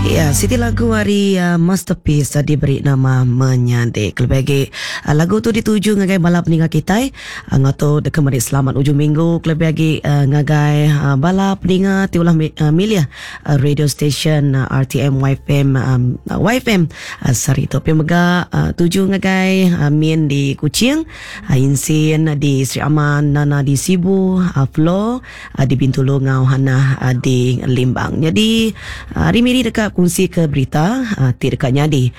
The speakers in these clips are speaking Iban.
Ya, siti lagu ari uh, Masterpiece uh, diberi nama Menyadi. Kelebih agi uh, lagu tu dituju ngagai bala peninga kitai. Uh, ngau tu deka meri selamat ujung minggu kelebih agi uh, ngagai uh, bala peninga ti ulah uh, milih uh, radio station uh, RTM YFM um, YFM uh, sehari tu. Pia mega uh, tuju ngagai uh, Min di Kuching, uh, Insin di Sri Aman, Nana di Sibu, uh, Flo di Bintulu enggau Hanah di Limbang. Nyadi hari Miri deka kunsi ke berita ti deka nyadi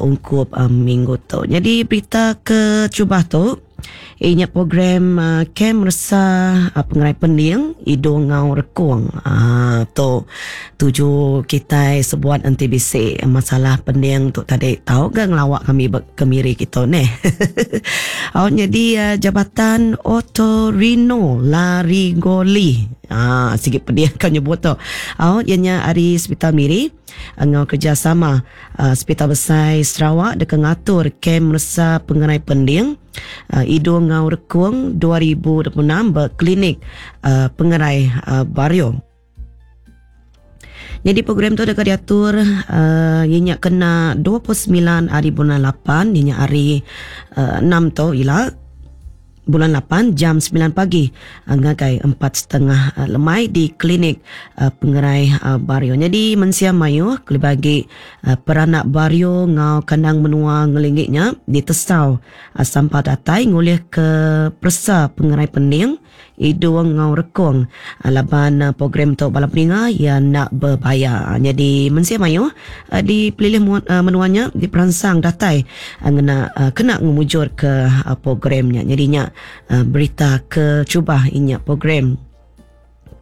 ungkup minggu tu. Nyadi berita ke terubah tu iya nya program Kem Resa Pengerai Pending Idung enggau Rekung. Tu tuju kitai sebuat enti bisi masalah pending tu tadi tau ga ngelawa kami ba ke Miri kitu neh. Au nyadi Jabatan Otorhinolaryngology aaa sigi pedih ka nyebut tu. Au iya nya ari Sepital Miri enggau kerjasama Sepital Besai Sarawak deka ngatur Kem Meresa Pengerai Pending Idung enggau Rekung 2026 ba Klinik Pengerai Bario. Nyadi program tu deka diatur uhh iya nya kena 29 hari bulan lapan iya nya hari uhh enam tu ila bulan lapan jam semilan pagi ngagai empat setengah lemai di klinik pengerai Bario. Nyadi mensia mayuh kelebih agi peranak Bario enggau kandang menua ngelingi nya ditesau sampal datai ngulihka peresa pengerai pending. Idung enggau rekung laban program tu bala peninga iya enda bebayar. Nyadi mensia mayuh di pelilih menua nya diperansang datai ngena kena ngemujurka program nya. Nyadi nya berita ke terubah inya program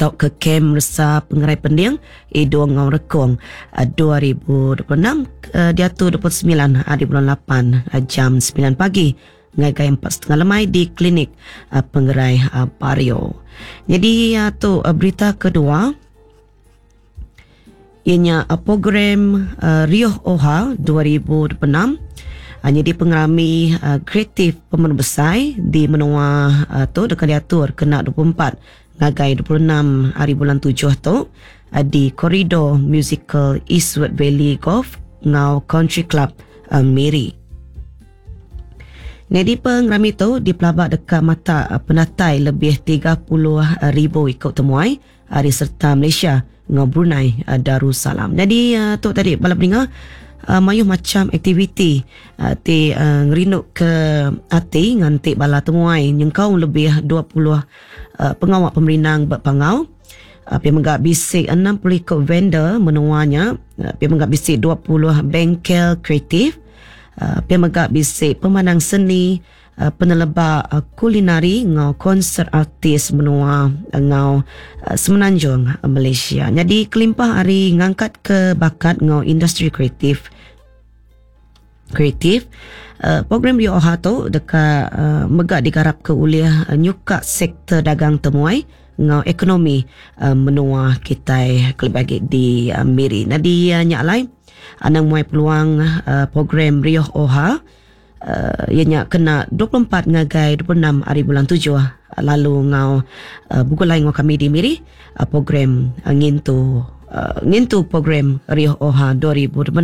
tauka kem resa pengerai pending idung enggau rekung 2026 diatu 29 hari bulan lapan jam semilan pagi. Ngagai 4.30 lemai di Klinik Pengerai Bario. Nyadi tu berita kedua iya nya program Rioh Oha 2026 nyadi pengerami kreatif pemenu besai di menua tu deka diatur kena 24 ngagai 26 hari bulan tujuh tu di Koridor Musical Eastwood Valley Golf enggau Country Club Miri. Nyadi pengerami tu dipelaba deka matak penatai lebih 30,000 iku temuai ari sereta Malaysia enggau Brunei Darussalam. Nyadi tu tadi bala peninga mayuh macham aktiviti ti ngerinduka ati nganti bala temuai nyengkaum lebih 20 pengawa pemerindang ba Pangau. Pia mega bisi 60 iku vendor menua nya, pia mega bisi 20 bengkel kreatif. Pia mega bisi pemandang seni, peneleba kulinari enggau konsert artis menua enggau Semenanjung Malaysia. Nyadi kelimpah ari ngangkatka bakat enggau industri kreatif, kreatif, program Rioha tu deka mega digarapka ulih nyuka sektor dagang temuai enggau ekonomi menua kitai kelebih agi di Miri. Nyadi nya alai anang muai peluang program Rioh Oha iya nya kena 24 ngagai 26 hari bulan tujuh lalu enggau begulai enggau kami di Miri program ngintu ngintu program Rioh Oha 2026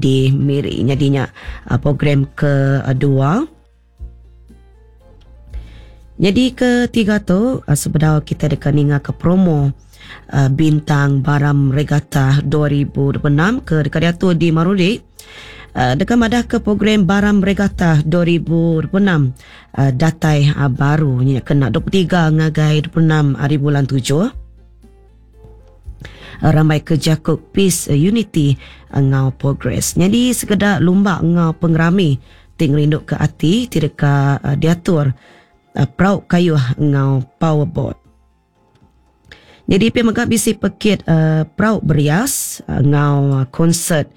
di Miri. Nyadi nya program kedua. Nyadi ketiga tu sebedau kita deka ninga ke promo Bintang Baram Regatta 2026 ke deka diatur di Marudi deka madah ke program Baram Regatta 2026 datai baru nya kena 23 ngagai 26 hari bulan tujuh. Rambai ke jaku Peace, Unity enggau Progress. Nyadi sekeda lumba enggau pengerami ti ngerinduka ati ti deka diatur perau kayuh enggau powerboat. Nyadi pia mega bisi pekit perau berias enggau konsert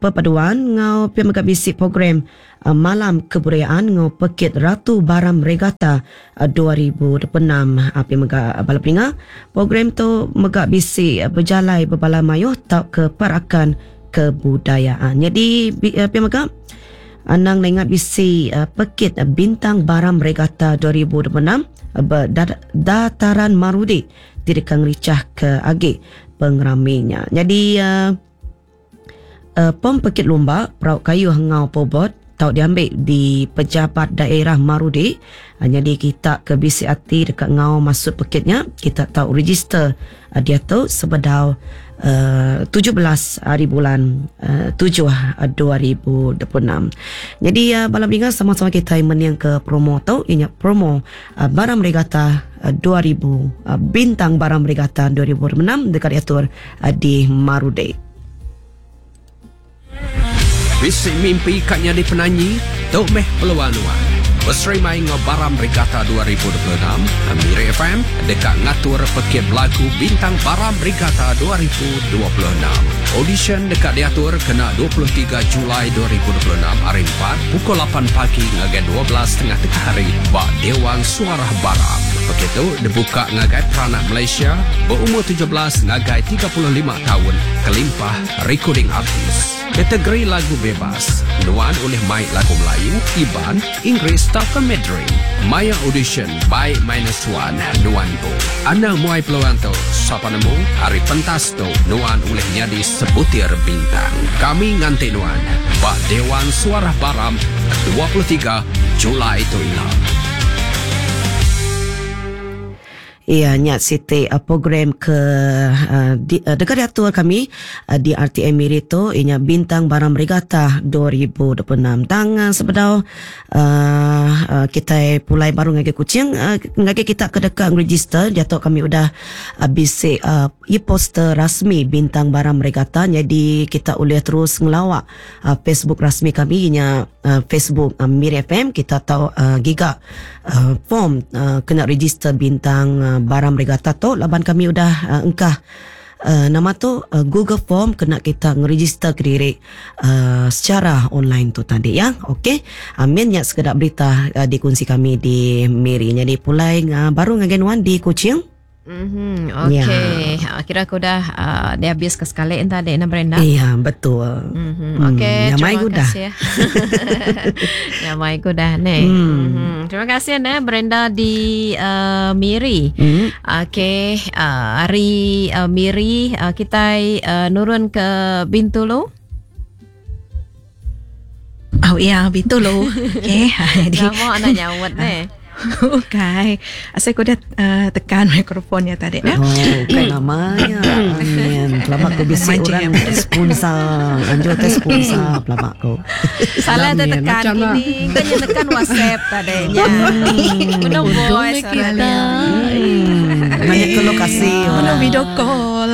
perpaduan enggau pia mega bisi program Malam Kebudayaan enggau Pekit Ratu Baram Regatta 2026. Pia mega bala peninga, program tu mega bisi bejalai bebala mayuh tauka perakan kebudayaan. Nyadi pia mega anang enda ingat bisi Pekit Bintang Baram Regatta 2026 ba Dataran Marudi ti deka ngerichahka agi pengerami nya. Nyadi. pom pekit lumba perau kayuh enggau pobot tau diambi di Pejabat Daerah Marudi. Nyadi kita ke bisi ati deka enggau masuk pekit nya, kita tau register diatu sebedau 17 hari bulan 7 2026. Nyadi bala peninga sama-sama kitai mening ke promo tu iya nya promo Baram Regatta 2000 Bintang Baram Regatta 2026 deka diatur di Marudi. Bisi mimpi ka nyadi penanyi? Tu meh peluang nuan. Beserimai enggau Baram Regatta 2026, Miri FM deka ngatur Pekit Belagu Bintang Baram Regatta 2026. Audition deka diatur kena 23 Julai 2026 hari Empat pukul lapan pagi ngagai 12 tengah tengah hari ba Dewan Suarah Baram. Pekit tu dibuka ngagai peranak Malaysia beumur 17 ngagai 35 taun kelimpah Recording Artist. Kategori lagu bebas. Nuan ulih mai lagu Melayu, Iban, Inggeris tauka Mandarin. Maya audition bai minus one nuan empu. Anang muai peluang tu, sapa nemu ari pentas tu nuan ulih nyadi sebutir bintang. Kami nganti nuan ba Dewan Suarah Baram 23 Julai tu ila. Iya nya siti program ke deka diatur kami di RTM Miri tu iya nya Bintang Baram Regatta 2026. Tang sebedau kitai pulai baru ngagai Kuching ngagai kita ke deka ngeregister diatu kami udah bisi e-poster rasmi Bintang Baram Regatta nyadi kita ulih terus ngelawa Facebook rasmi kami iya nya Facebook Miri FM kita tau giga form kena register bintang Baram Regatta tu laban kami udah engkah nama tu Google Form kena kita ngeregister kediri secara online tu tadi ya. Okey. Amin nya sekeda berita dikunsi kami di Miri. Nyadi pulai baru ngagai nuan di Kuching. Mm-hmm. Okey. Ya. Kira aku dah uh, dia habis ke sekali entah dek nak Brenda. Iya, betul. Mm-hmm. Okey, hmm. terima kasih. Nyamai ku dah ni. Mm. Mm-hmm. Terima kasih ne Brenda di uh, Miri. Mm. Okey, uh, hari uh, Miri uh, kita uh, nurun ke Bintulu. Oh iya, Bintulu. Okey. Lama nak nyawat ni. Okey. Asal aku dah uh, tekan mikrofon ya tadi ya. Oh, bukan namanya. Amin. Lama aku bisi orang sponsor. Anjur teh sponsor lama aku. Salah teh tekan ini. Kan yang tekan WhatsApp tadi nya. Penuh voice kita. Banyak ke lokasi. Penuh video call.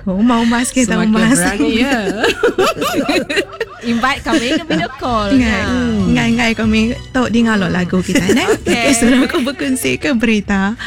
Oh, mau mas kita Semakin mas. berani ya. Invite kami ke video call. Ngai, ngai, ngai kami tok dengar lo lagu kita ne. Okey. Okay, sudah aku berkongsi ke berita.